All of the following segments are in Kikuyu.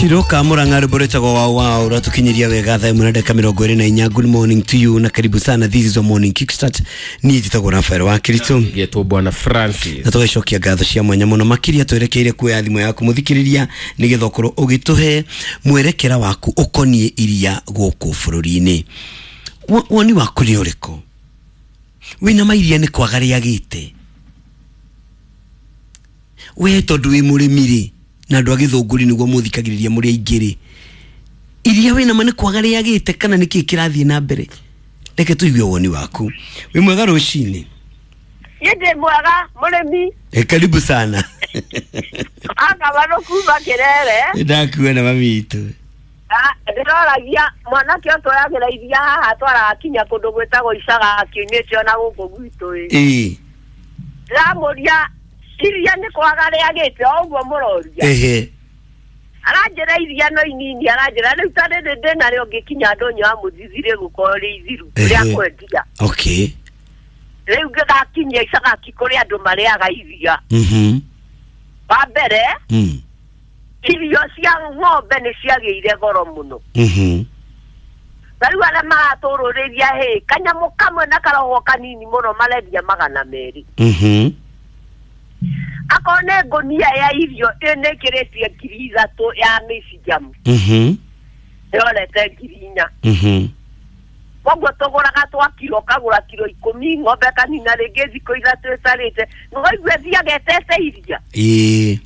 Shiroka Murang'a rwĩmbo rwĩtagwo wow wow rwatũkinyĩria wega thaa ĩmwe na ndagĩka mĩrongo ĩrĩ na inya. Good morning to you na karibu sana, this is a morning kickstart. Niĩ njĩtagwo Rafael wa Kiritu Getwo Bwana Francis. Na tũgacokia ngatho cia mwanya mũno makĩria twerekeire kuoya thimũ yaku mũthikĩrĩria nĩgetha ũkorwo ũgĩtũhe mwerekera waku ũkoniĩ iria gũkũ bũrũri-inĩ. Woni waku nĩ ũrĩkũ? Wĩna mairia nĩ kwaga rĩagĩte we tondũ wĩ mũrĩmi rĩ na andũ a gĩthũngũri nĩguo mũthikagĩrĩria mũrĩ aingĩ rĩ, iria wĩna ma nĩ kwaga rĩagĩte kana nĩkĩĩ kĩrathiĩ na mbere? Reke tũigue woni waku. Wĩ mwega rũcinĩ? Niĩ ndĩ mwega mũrĩmi. E, karibu sana. Akabanũ kuma Kĩrere. Ndakuona mami witũ. Ndĩroragia mwanake ũyũ twoyagĩra iria haha twaraga kinya kũndũ gwĩtagwo Icaga kiumĩte ona gũkũ gwitũ ĩ. Ĩĩ. Ndĩramũria iria nĩ kwaga rĩagĩte o ũguo mũroria. Ehe. Aranjĩra iria no inini, aranjĩra rĩu ta rĩrĩ ndĩnarĩo ngĩkinya ndũnyũ ya mũthithi rĩgũkorwo rĩ ithiru rĩa kwendia. Okay. Rĩu ngĩgakinyia Icagaki kũrĩ andũ marĩaga iria. Wa mbere, irio cia ng'ombe nĩ ciagĩire goro mũno. Na rĩu arĩa maratũrũrĩria hĩ kanyamũ kamwe na karogo kanini mũno marendia 200. Akorwo nĩ ngũnia ya irio ĩnĩkĩrĩtie 3,000 ya mĩcinjamu. Ĩrorete 4,000. Koguo tũgũraga twa kiro, ũkagũra kiro 10 ng'ombe kanina rĩngĩ thikũ 3 ĩtarĩte nĩwaigua ĩthiaga ĩtete iria. Ĩĩ.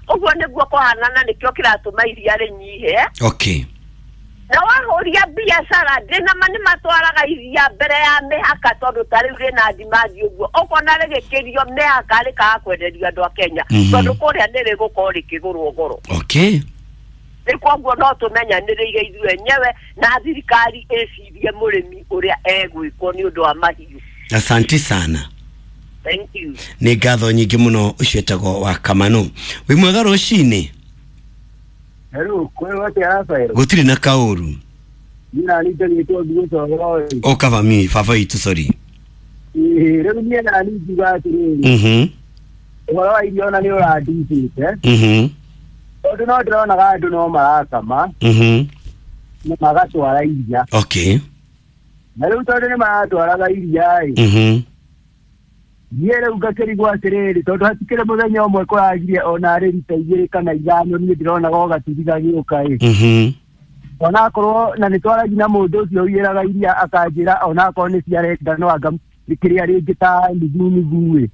Ũguo nĩguo kũhanana, nĩkĩo kĩratũma iria rĩnyihe. Okay. Na wahũria biacara ndĩna ma nĩ matwaraga iria mbere ya mĩhaka tondũ ta rĩu rĩna demand ũguo ũkona rĩgĩkĩrio mĩhaka rĩkaga kwenderio andũ a Kenya. Tondũ kũrĩa nĩ rĩgũkorwo rĩkĩgũrwo goro. Okay. Rĩu koguo no tũmenyanĩrĩire ithuĩ enyewe na thirikari ĩcirie mũrĩmi ũrĩa egwĩkwo nĩ ũndũ wa mahiũ. Asante sana. Thank you. Nĩ ngatho nyingĩ mũno ũcio etagwo wa Kamano. Wĩ mwega rũcinĩ? Hello, kwĩ atĩa Rafael? Gũtirĩ na kaũru. Niĩ nani njagĩtwo Thuo Coro. O kaba mi baba witũ, sorry. Ĩĩ, rĩu niĩ nani ngiuga atĩrĩrĩ. Ũhoro wa irio ona nĩ ũrandicĩte. Tondũ no ndĩronaga andũ no marakama na magatwara iria. Okay. Na rĩu tondũ nĩ maratwaraga iria ĩ. Niĩ rĩu ngakĩrigwo atĩrĩrĩ, tondũ hatikĩrĩ mũthenya ũmwe kũragirie ona arĩ rita 2 kana 5 niĩ ndĩronaga o gatuthi gagĩũka ĩ. Onakorwo na nĩ twaragia na mũndũ ũcio ũiyĩraga iria akanjĩra onakorwo nĩ ciarenda no anga kĩrĩa rĩngĩ ta nuthu nuthu ĩ.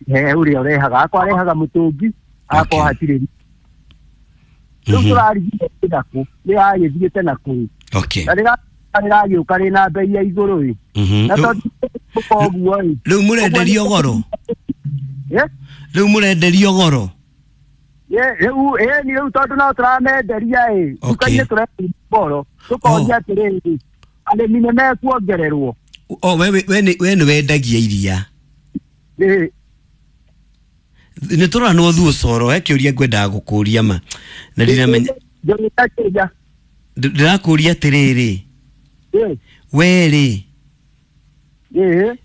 He ũrĩa ũrehaga, akorwo arehaga mũtũngi, akorwo hatirĩ. Rĩu tũrarigia nakũ, rĩragĩthiĩte nakũu. Okay. Na rĩragĩũka rĩna bei ya igũrũ ĩ. Na tondũ koguo ĩ. Rĩu mũrenderio goro? Rĩu mũrenderio goro? Rĩu ĩni rĩu tondũ no tũramenderia ĩ. Nduka-inĩ tũrenderia goro. Tũkoria atĩrĩrĩ, arĩmi nĩ mekuongererwo. O we nĩ wendagia iria? Ĩ. Nĩ tũranwo Thuo Coro, he kĩũria ngwendaga gũkũria ma. Na ndiramenya. Ndĩrakũria atĩrĩrĩ. We rĩ.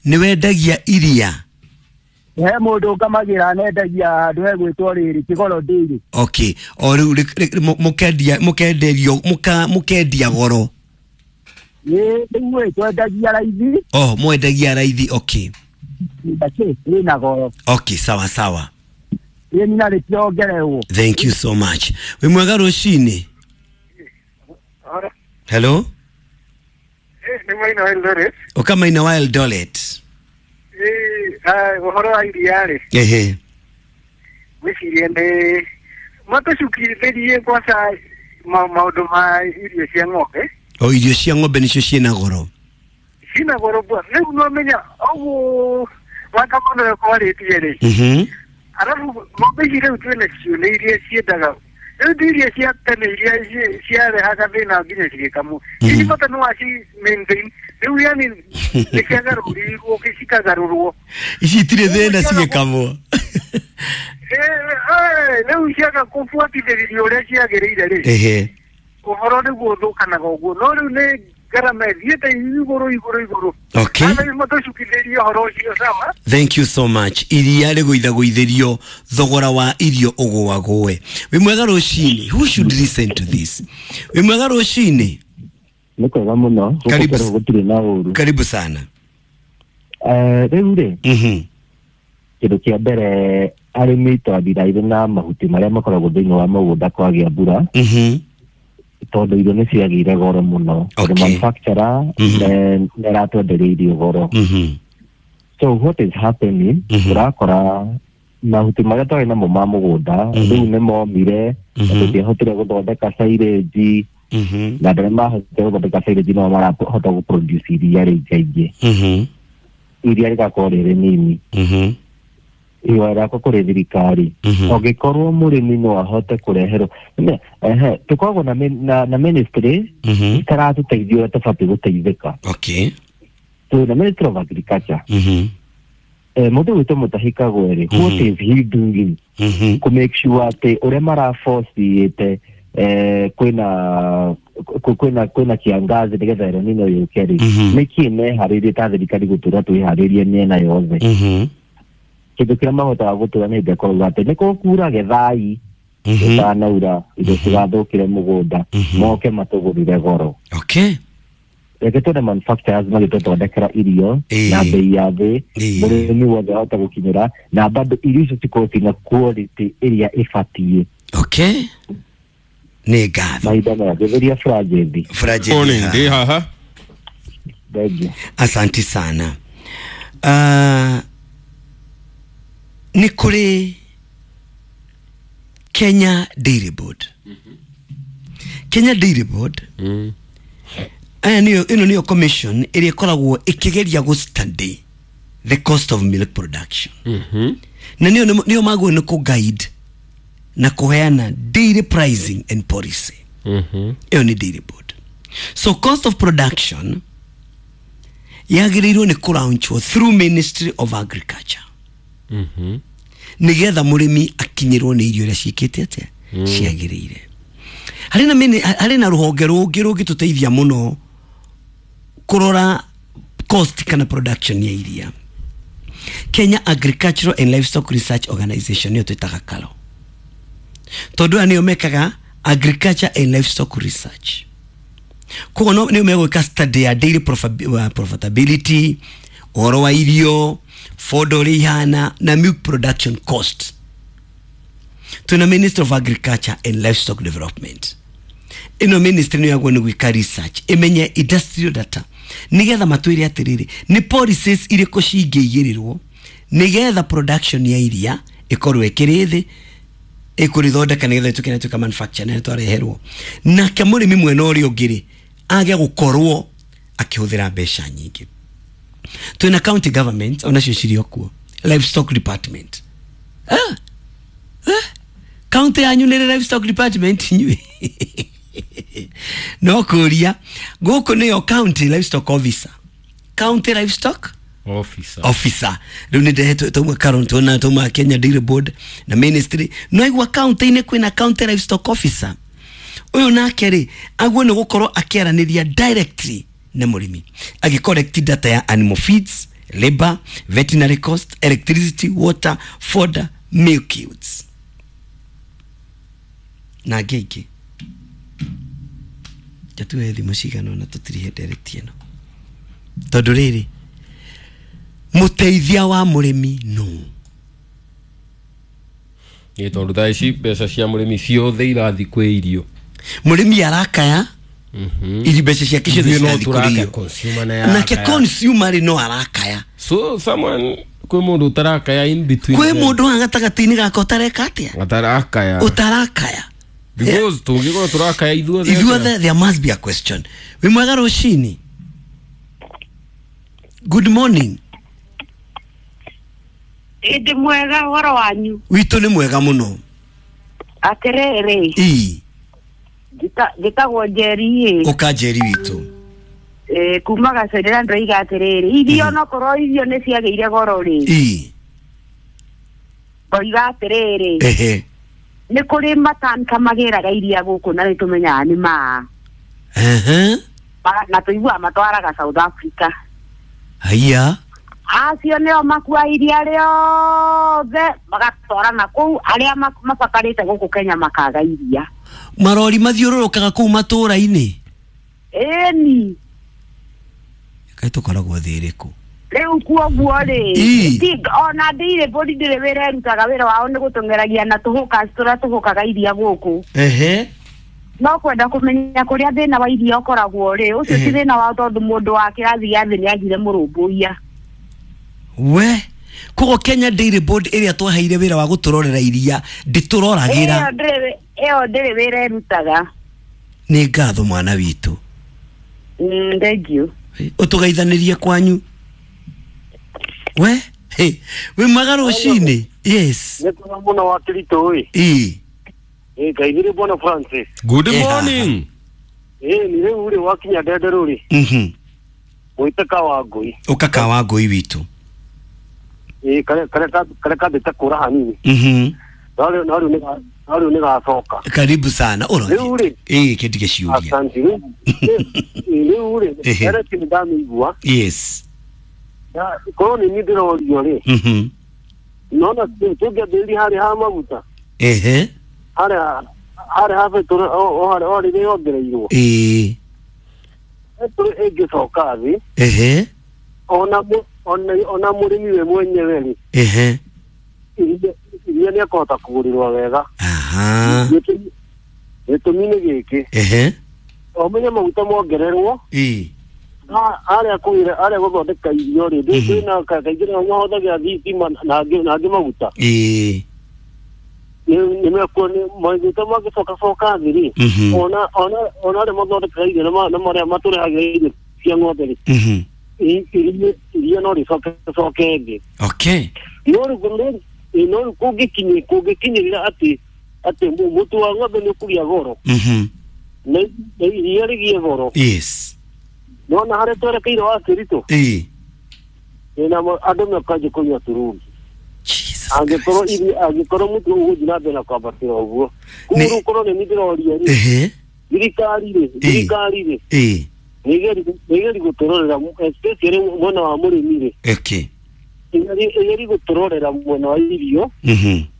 Nĩ wendagia iria? He mũndũ ngamagĩra nendagia handũ hegwĩtwo rĩrĩ Kĩgoro Dairy. Okay. O rĩu mũkendia mũkenderio mũkendia goro? Ĩ, rĩu ĩ twendagia raithi. Oh, mwendagia raithi, okay. Rĩna goro. Okay, sawa sawa. Ĩ na rĩtiongererwo. Thank you so much. Wĩ mwega rũcinĩ? Hello? Nĩ Maina wa Eldoret. Ũka Maina wa Eldoret. Ũhoro wa iria rĩ. Ehe. Ngwĩciria nĩ matũcukithĩrie kwanza maũndũ ma irio cia ng'ombe. O irio cia ng'ombe nĩcio ciĩna goro. Ciĩna goro bwa. Rĩu no menya ũguo Wakamano ũyũ kwarĩtie rĩ. Arabu ng'ombe ici rĩu twĩnacio nĩ iria ciendaga. Rĩu ti iria cia tene iria ciarehaga thĩna nginya cigĩkamwo. Ici bata nĩ waci maintain. Rĩu yani nĩ ciagarũrirwo cikagarũrwo. Ici itirĩ thĩna cigĩkamwo. Rĩu ciaga kũbuatithĩrĩrio ũrĩa ciagĩrĩire rĩ. Ehe. Ũhoro nĩguo ũthũkanaga ũguo. No rĩu nĩ Ngarama ĩthiĩte igũrũ igũrũ igũrũ. Okay. Thank you so much. Iria rĩgũithagũithĩrio thogora wa irio ũgũagũe. Wĩ mwega rũcinĩ. Who should listen to this? Wĩ mwega rũcinĩ. Nĩ kwega mũno. Karibu. Gũtirĩ na ũru. Karibu sana. Rĩu rĩ. Kĩndũ kĩa mbere arĩmi twathiraire na mahuti marĩa makoragwo thĩinĩ wa mũgũnda kwagĩa mbura. Tondũ irio nĩ ciagĩire goro mũno. Okay. The manufacturer nĩ aratwenderia irio goro. So what is happening, ũrakora mahuti marĩa twarĩ namo ma mũgũnda rĩu nĩ momire, tũtiahotire gũthondeka silage, na andũ arĩa mahotire gũthondeka silage no marahota gũproduce iria rĩingaingĩ. Iria rĩgakorwo rĩrĩ nini. Ihoya rĩakwa kũrĩ thirikari, ũngĩkorwo mũrĩmi no ahote kũreherwo, tũkoragwo na ministry itaratũteithia ũrĩa tũbatiĩ gũteithĩka. Okay. So the Ministry of Agriculture, mũndũ gwĩtwo Mutahi Kagwe, what is he doing to make sure atĩ ũrĩa maraforciĩte kwĩna kiangazi nĩgetha El Nino yũke rĩ, nĩkĩ meharĩirie ta thirikari gũtũra twĩharĩrie mĩena yothe? Kĩndũ kĩrĩa mahotaga gũtũra nĩ hĩndĩ ĩkoragwo atĩ nĩ kũkura gethai gũtanaura indo cigathũkĩre mũgũnda, moke matũgũrĩre goro. Okay. Reke tuone manufacturers magĩtũthondekera irio na bei ya thĩ, mũrĩmi wothe ahote gũkinyĩra, na bado irio icio cikorwo ciĩna quality ĩrĩa ĩbatiĩ. Okay. Nĩ ngatho. Mahinda maya ngĩthĩria Franjethi. Franjethi. Ndĩ haha. Thank you. Asanti sana. Nĩ kũrĩ Kenya Dairy Board. Kenya Dairy Board aya niyo ĩno niyo commission ĩrĩa ĩkoragwo ĩkĩgeria gũ study the cost of milk production. Na niyo niyo magwo nĩ kũ guide na kũheana dairy pricing and policy. Ĩyo nĩ Dairy Board. So cost of production yagĩrĩirwo nĩ kũlaunchwo through Ministry of Agriculture. Nĩgetha mũrĩmi akinyĩrwo nĩ irio iria ciĩkĩte atĩa ciagĩrĩire. Harĩ na rũhonge rũngĩ rũngĩtũteithia mũno kũrora cost kana production ya iria. Kenya Agricultural and Livestock Research Organization nĩyo twĩtaga KALRO. Tondũ aya nĩo mekaga agriculture and livestock research. Koguo nĩo megwĩka study ya dairy profitability, ũhoro wa irio, fodder ũrĩa ihana, na milk production cost. Twĩna Ministry of Agriculture and Livestock Development. Ĩno ministry nĩyo yagwo nĩ gwĩka research, ĩmenye industrial data, nĩgetha matwĩre atĩrĩrĩ nĩ policies irĩkũ cingĩigĩrĩrwo nĩgetha production ya iria ĩkorwo ĩkĩrĩ thĩ, ĩkũrĩthondeka nĩgetha ĩtuĩke nĩ ĩtuĩka manufacture na twareherwo. Nake mũrĩmi mwena ũrĩa ũngĩ rĩ age gũkorwo akĩhũthĩra mbeca nyingĩ. Twĩna county government onacio cirĩ o kuo, livestock department. County yanyu nĩ livestock department inyuĩ? No kũria gũkũ nĩyo county livestock officer. County livestock officer. Rĩu nĩ ndehetwo tauma Karon na tauma Kenya Dairy Board na ministry. No igua county-inĩ kwĩna county livestock officer. Ũyũ nake rĩ aguo nĩ gũkorwo akĩaranĩria directly na mũrĩmi, agĩcollect data ya animal feeds, labor, veterinary cost, electricity, water, fodder, milk yields na ngĩ ingĩ. Jatuwe thimũ cigana ũna tũtirihe ndereti ĩno tondũ rĩrĩ mũteithia wa mũrĩmi no nĩ tondũ thaa ici mbeca cia mũrĩmi ciothe irathiĩ kwĩ irio. Mũrĩmi arakaya iri mbeca ciake ciothe cirathiĩ kũrĩ irio, nake consumer rĩ no arakaya. So someone kwĩ mũndũ ũtarakaya in between, kwĩ mũndũ wa gatagatĩ-inĩ gaka ũtareka atĩa, ũtarakaya, ũtarakaya. Because tũngĩkorwo tũrakaya ithuothe, ithuothe there must be a question. Wĩ mwega rũcinĩ. Good morning. Ndĩ mwega, ũhoro wanyu? Witũ nĩ mwega mũno. Atĩrĩrĩ, ii njĩtagwo Njeri ĩ. Ũka Njeri witũ. Kuma Gacerera ndĩroiga atĩrĩrĩ, irio onokorwo irio nĩ ciagĩire goro rĩ, ii ngoiga atĩrĩrĩ, ehe, nĩ kũrĩ matanka magĩraga iria gũkũ na nĩ tũmenyaga nĩ maa. Ehe. Na tũiguaga matwaraga South Africa. Haiya. Acio nĩo makua iria rĩothe magatwara na kũu arĩa mabatarĩte gũkũ Kenya makaga iria. Marori mathiũrũrũkaga kũu matũũra-inĩ. Ĩni. Kaĩ tũkoragwo thĩ ĩrĩkũ? Rĩu kuoguo rĩ, ona ndirĩ mbũri ndĩrĩ wĩra ĩrutaga, wĩra wao nĩ gũtũng'eragia na tũhũka tũrĩa tũhũkaga iria gũkũ. Ehe. No kwenda kũmenya kũrĩa thĩna wa iria ũkoragwo rĩ, ũcio ti thĩna wao tondũ mũndũ wa kĩrathi gĩa thĩ nĩagire mũrũmbũiya. We, koguo Kenya Dairy Board ĩrĩa twaheire wĩra wa gũtũrorera iria ndĩtũroragĩra. Ĩyo ndĩrĩ wĩra ĩrutaga. Nĩ ngatho mwana witũ. Thank you. Ũtũgeithanĩrie kwanyu. We, hey, wĩ mwega rũcinĩ. Yes. Nĩ kwega mũno wa Kĩritũ ĩ. Ĩ. Ĩ ngaithĩrĩ bwana Francis. Good morning. Ĩ ni rĩu rĩ wakinya Ndenderũ rĩ. Mwĩte Kawangũi. Ũka Kawangũi witũ. Ĩ karĩa kambĩte kũra hanini. No rĩu nĩ gacoka. Karibu sana. Rĩu rĩ. Ĩ kĩndige ciũria. Asante. Rĩu rĩ ndereti nĩ ndamĩigua. Yes. Korwo nĩ niĩ ndĩrorio rĩ. Nona tũngĩambĩrĩria harĩa ha maguta. Ehe. Harĩa ha betũrũ o harĩa o rĩrĩa yongereirwo. Ĩĩ. Betũrũ ĩngĩcoka thĩ. Ehe. Ona mũrĩmi we mwenyewe rĩ. Ehe. Iria nĩ akũhota kũgũrĩrwo wega. Aha. Gĩtũmi nĩ gĩkĩ. Ehe. Ũmenye maguta mongererwo. Ĩĩ. Harĩa kũgĩra harĩa gũthondeka irio rĩ, ndĩna kaingĩ nĩho mahũthagĩra thitima na angĩ maguta. Ĩĩ. Nĩ mekuo maguta mangĩcoka coka thĩ rĩ, ona arĩa mathondekaga irio na marĩa matũrehagĩra irio cia ng'ombe rĩ, iria no rĩcoke coke thĩ. Okay. No rĩu kũngĩkinyĩrĩra atĩ mũtu wa ng'ombe nĩ ũkũgĩa goro. Na iria rĩgĩe goro. Yes. Nona harĩa twerekeire wa Kĩritũ. Ĩĩ. Na andũ mekanjia kũnyua turungi. Angĩkorwo mũtu ũgũthiĩ na mbere na kwambatĩra ũguo. Koguo rĩu korwo nĩ niĩ ndĩroria rĩ. Thirikari rĩ. Ĩĩ. Nĩ ĩgerie gũtũrorera especially mwena wa mũrĩmi rĩ. Okay. Ĩgerie gũtũrorera mwena wa irio.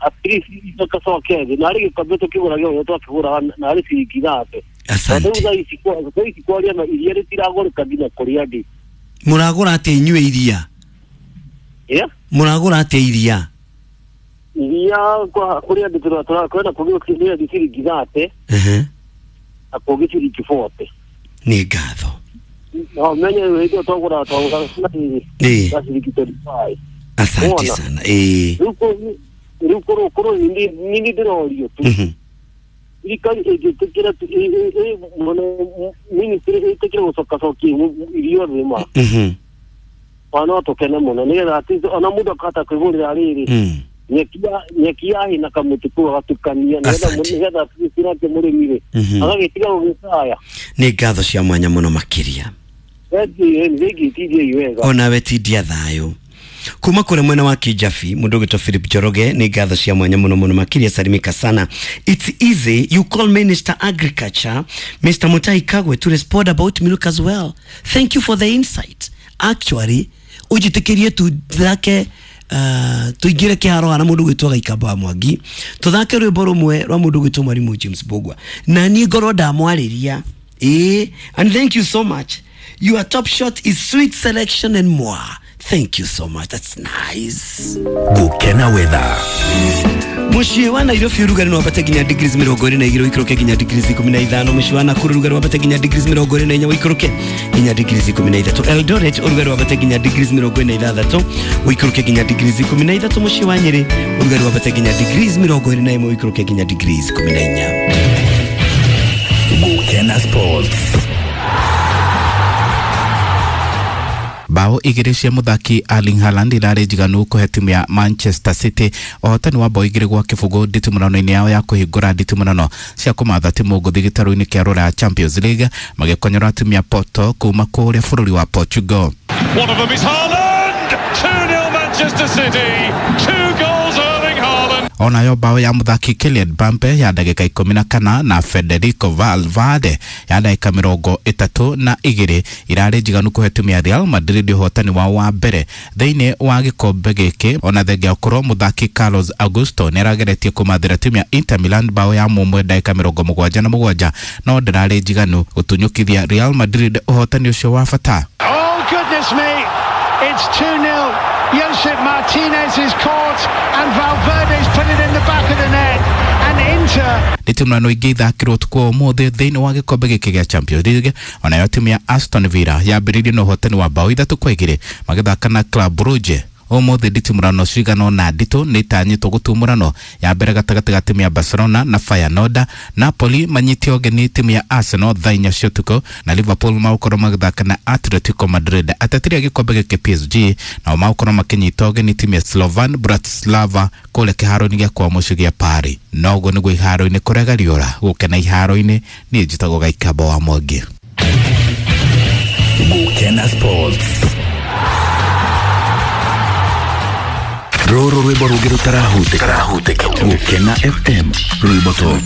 At least icoke thĩ. Narĩ gĩkombe tũkĩgũraga ũrĩa twakĩgũraga narĩ ciringi 30. Asante. Thaa ici kwaria na iria rĩtiragũrĩka nginya kũrĩa ndĩ. Mũragũra atĩa inyuĩ iria? Yeah? Mũragũra atĩa iria? Iria kũrĩa ndĩ kwĩna kũngĩ ciringi 30. Na kũngĩ ciringi 40. Nĩ ngatho. No menye hĩndĩ ĩyo twagũraga na ciringi 35. Asante sana. Ĩĩ. Rĩu korwo nĩ ndĩrorio tu. Thirikari ĩngĩtĩkĩra ministry ĩtĩkĩre gũcokacokia irio thĩ ma. No tũkene mũno nĩgetha ona mũndũ akahota kwĩgũrĩra rĩrĩ nyeki ya hĩ na kamũtĩ kau agatukania nĩgetha nake mũrĩmi rĩ agagĩtiga gũgĩcaya. Nĩ ngatho cia mwanya mũno makĩria. Onawe tindia thayũ. Kuma kure mwena wa Kijafi mundu gwitwo Philip Njoroge, nĩ ngatho cia mwanya muno muno makĩria, salimika sana. It's easy you call Minister Agriculture Mr. Mutahi Kagwe to respond about milk as well. Thank you for the insight. Actually ujitikirie tuthake tuingire kiharo na mundu gwitwo Gaikamba wa Mwangi, tuthake rwimbo rumwe rwa mundu gwitwo Mwalimu James Bogwa na niĩ ngorwo ndamwarĩria. And thank you so much. Your top shot is sweet selection and more. Thank you so much. That's nice. Gukena weather. Muciĩ wa Nairobi ũrugarĩ no wambate nginya degrees 22 ũikũrũke nginya degrees 15. Muciĩ wa Nakuru ũrugarĩ wambate nginya degrees 24 ũikũrũke nginya degrees 13. Eldoret ũrugarĩ wambate nginya degrees 46 ũikũrũke nginya degrees 13. Muciĩ wa Nyeri ũrugarĩ wambate nginya degrees 21 ũikũrũke nginya degrees 14. Gukena Sports. Bao igĩrĩ cia mũthaki Erling Haaland irarĩ njiganu kũhe timu ya Manchester City ũhotani wa bao 2-0 nditimũrano-inĩ yao ya kũhingũra nditimũrano cia kũmatha timu ngũthi gĩtarũ-inĩ kĩa Rũraya Champions League magĩkonyora timu ya Porto kuma kũrĩa bũrũri wa Portugal. One of them is Haaland! 2-0 Manchester City! 2 goals Erling Haaland! Onayo bao ya muthaki Kylian Mbappe ya ndagika 14 na Federico Valverde ya ndagika 32 irarĩ njiganu kũhe timu ya Real Madrid ũhotani wao wa mbere thĩinĩ wa gĩkombe gĩkĩ, ona thengia ũkorwo mũthaki Carlos Augusto nĩarageretie kũmathĩra timu ya Inter Milan bao ya mũmwe ndagika 77, no ndĩrarĩ njiganu gũtunyũkithia Real Madrid ũhotani ũcio wa bata. Oh goodness me, it's 2-0. Josep Martinez is caught and Valverde's put it in the back of the net and Inter. Nditimũrano ingĩ ithakĩrwo ũtukũ wa ũmũthĩ thĩinĩ wa gĩkombe gĩkĩ gĩa Champions League, onayo timu ya Aston Villa yambĩrĩirie na ũhotani wa bao 3-2 magĩthaka na Club Brugge. Ũmũthĩ nditimũrano cigana ũna nditũ nĩ itanyĩtwo gũtumũranwo, ya mbere gatagatĩ ga timu ya Barcelona na Feyenoord, Napoli manyite ũgeni timu ya Arsenal thaa 4 cia ũtukũ, na Liverpool magũkorwo magĩthaka na Atletico Madrid. Ateteri a gĩkombe gĩkĩ PSG nao magũkorwo makĩnyita ũgeni timu ya Slovan Bratislava kũrĩa kĩharo-inĩ gĩa kwao mũciĩ gĩa Paris. Na ũguo nĩguo iharo-inĩ kũrega riũra gũkena iharo-inĩ. Niĩ njĩtagwo Gaikamba wa Mwangi. Gukena Sports. Rũrũ rwĩmbo rũngĩ rũtarahutĩka. Gũkena FM rwĩmbo top.